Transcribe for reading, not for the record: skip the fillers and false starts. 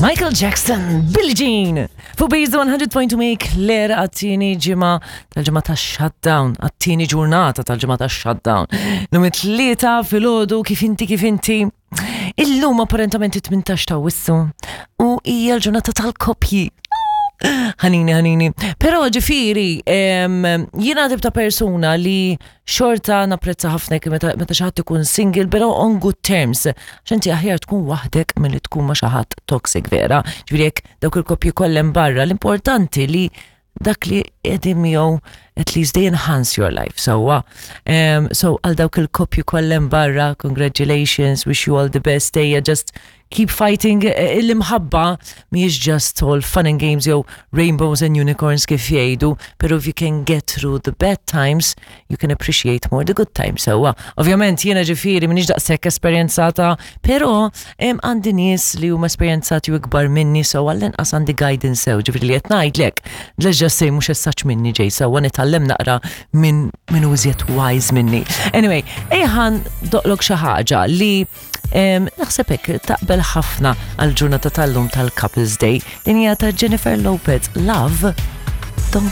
Michael Jackson, Billie Jean, fuq Beats 100.2 make l-era għat-tieni ġimgħa tal-ġimgħa ta' shutdown, għat-tieni ġurnata tal-ġimgħa ta' shutdown. Lum it-tlieta filgħodu kif inti kif inti. Illum apparentament it-18 ta' wissu u hija l-ġurnata tal-koppji. Ħanini, ħanini. Pero ġifiri, jiena tip ta' persuna li xorta napprezza ħafna jekk meta meta xi ħadd ikun single, però on good terms. Għax inti aħjar tkun waħdek milli tkun ma' xi ħadd toxic vera. Ġifieri jekk dawk il-koppji kollha hemm barra, l-importanti li dak li qegħdin miegħu at least they enhance your life. Sewwa. Um, so għal dawk il-koppji kollha hemm barra, congratulations, wish you all the best, ejja just keep fighting eh, l-imħabba mhijiex just all fun and games jew rainbows and unicorns kif jgħidu, pero if you can get through the bad times, you can appreciate more the good times sewwa. Ovvjament jiena ġifieri m'iniex daqshekk esperjenzata, pero għandi nies li huma esperjenzati u ikbar minni so għall-inqas għandi guidance sew, ġifieri li qed ngħidlek, let's just say mhux essaċ minni ġej sewwa nitgħallem naqra minn min iżjed wise minni. Anyway, ejħan doqlok xi ħaġa li Naħseb hekk taqbel ħafna għal ġurnata tal-lum tal-Couples Day. Din hija ta' Jennifer Lopez, Love.